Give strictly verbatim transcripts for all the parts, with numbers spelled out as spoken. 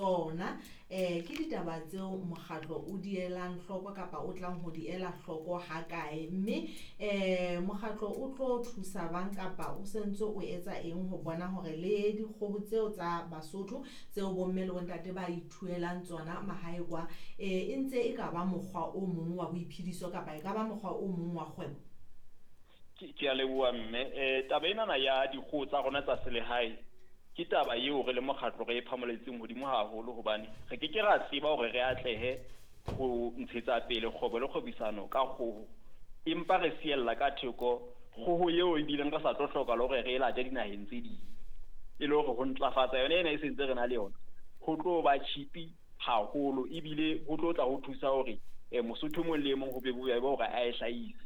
Tsona um ke ditaba tseo mokgatlo o di elang hloko kapa o tlang ho di ela hloko ha kae, mme um mokgatlo o tlo thusa bang kapa o sentse o etsa eng ho bona hore le dikgoho tseo tsa Basotho tseo bomme le bontate ba ithuelang tsona mahae kwa, e ntse e ka ba mokgwa o mong wa boiphediso kapa e ka ba mokgwa o mong wa kgwebo? Ke a leboha mme. Eh taba enana ya dikgoho tsa rona tsa selehae ke taba eo re le mokgatlo re e phamoletseng hodimo haholo, hobane re ke ke ra tseba hore re atlehe ho ntshetsa pele kgwebo le kgwebisano ka kgoho, empa re siella ka theko kgoho eo ebileng re sa tlo hloka le hore re e late dinaheng tse ding. E le hore ho ntlafatsa yona ena e sentse re na le yona ho tlo ba cheap haholo, ebile ho tlo tla ho thusa hore mosotho mong le mong ho be bobebe hore a e hlahise.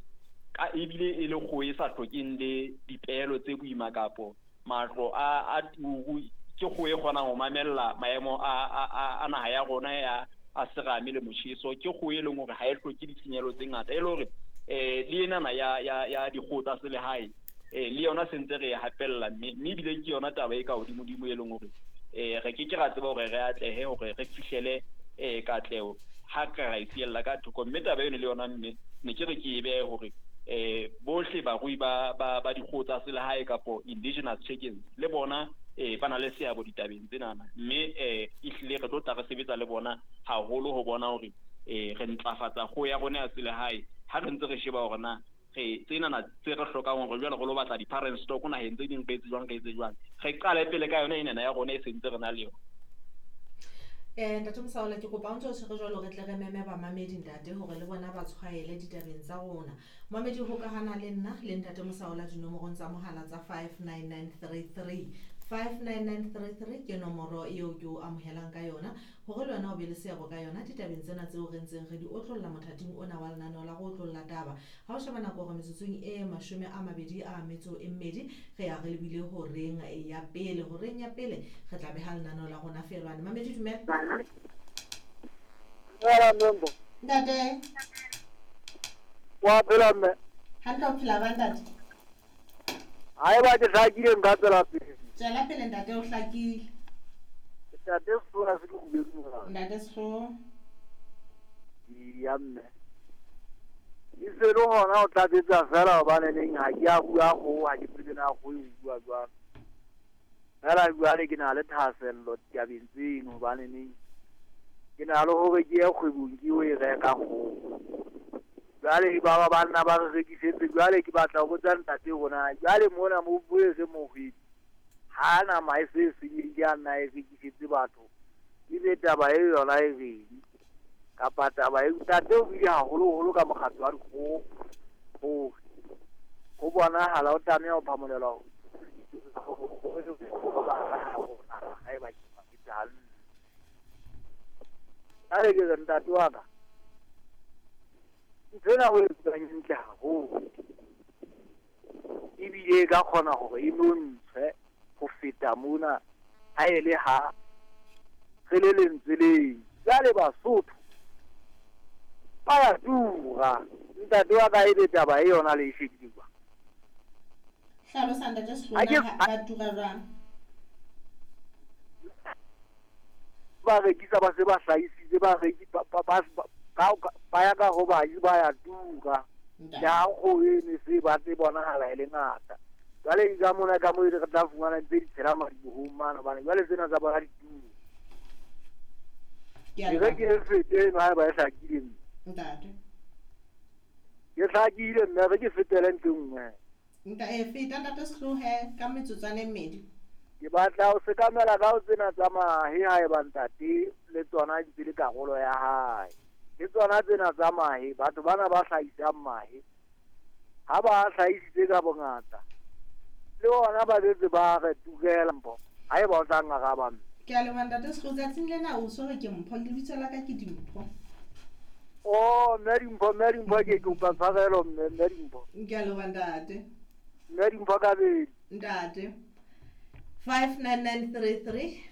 Ka ebile e le kgoho e sa hlokeng le dipehelo tse boima kapo matlo a a turu, ke kgoho e kgonang ho mamella maemo a a a naha ya rona ya a serame le motjheso. Ke kgoho e leng hore ha e hloke ditshenyehelo tse ngata, e le hore eh le enana ya ya ya dikgoho tsa selehae eh le yona sentse re e hapella, mme mme ebile ke yona taba e ka hodimo-dimo e leng hore eh re ke ke ra tseba hore re atlehe hore re fihlele eh katleho ha ka ra e siella ka thoko. Mme taba eno le yona mme ne ke re ke e behe hore eh bohle barui ba ba ba dikgoho tsa selehae kapo indigenous chickens le bona eh ba na le seabo ditabeng tsenana, mme eh ehlile re tlo tla re sebetsa le bona haholo ho bona hore eh re ntlafatsa kgoho ya rona ya selehae ha re ntse re sheba hore na re tsenana tse re hlokang hore jwale re lo batla di-parent stock naheng tse ding, re etse jwang re etse jwang, re qale pele ka yona enana ya rona e sentse re na le yona. Eh ntate Mosaola, ke kopa o ntso tshwere jwalo re tle re meme bamamedi ntate hore le bona ba tshwaele ditabeng tsa rona. Mamedi hokahana le nna le ntate Mosaola dinomorong tsa mohala tsa five nine nine three three. five nine nine three three ke nomoro eo ke o amohelang ka yona hore le wena o be le seabo ka yona ditabeng tsena tseo re ntseng re di otlolla mothating ona wa lenaneo la go otlolla taba. Ha o sheba nako hore metsotsong e mashome a mabedi a metso e mmedi re ya re lebile horeng ya pele, horeng ya pele re tla beha lenaneo la rona feelwane. Mamedi dumela. Dumela Membo. Ntate. Wa phela mme? Hantle, o phela ba ntate? Haeba ke hlakile nka tswela pele. Tswela pele ntate, o hlakile. Ntate Sehlola se ke kgubedu. Ntate Sehlola. Ya mme. E se le hona o tlatsetsa fela hobane neng ha ke a bua kgoho, ha ke tsebe na kgoho e bua jwang. Fela jwale ke na le thahasello ditabeng tseno hobane neng ke na le hore ke ye kgwebong ke o e reka kgoho. Jwale ba ba banna ba re rekisetse, jwale ke batla ho botsa ntate rona jwale mona mo bue se mohwebi ha nama e se senyehile a nna e rekisetse batho, ebe taba e yona e reng kapa taba e ntate o buile haholoholo ka mokgatlo wa dikgoho hore ho bonahala o tlameha ho phamolelwa haeba ke hantle. Jwale ke re ntate wa ka, ntho ena o e etsang e ntle haholo, ebile e ka kgona hore e nontshwe ho feta mona ha e le ha re le lentswe leng. Jwale Basotho ba ya tura. Ntate wa ka, ebe taba e yona le e shebile jwang? Hlalosa ntate Sehlola, ba tura jwang? Ba rekisa ba se ba hlahisitse, ba reki ba ba ba ya ka ho baji ba ya tura. Le ha kgoho eno se batle bonahala e le ngata. Jwale ka mona ka moo re tla fumana ntse di tshela madibohong mane, hobane jwale tsena tsa bona di tura. Ke re ke fete eno haeba e hlakile mme. Ntate. Ke hlakile mme, re ke fetele ntho e nngwe. Nta e feta ntate Sehlohe ka metsotswana e mmedi. Ke batla ho sekamela ka ho tsena tsa mahe haeba ntate le tsona di ntse le karolo ya hae. Le tsona tsena tsa mahe, batho bana ba hlahisang mahe ha ba hlahisitse ka bongata le ona ba betse ba re turela mpho haeba o tla ngaraba mme. Ke a leboha ntate Sehloho, tsatsing lena o so re ke Mpho, lebitso la ka ke Dimpho. Oh, mme Dimpho, mme Dimpho ke kopa tshwarelo mme, mme Dimpho. Ke a leboha ntate. Mme Dimpho kabedi. Ntate. five nine nine three three.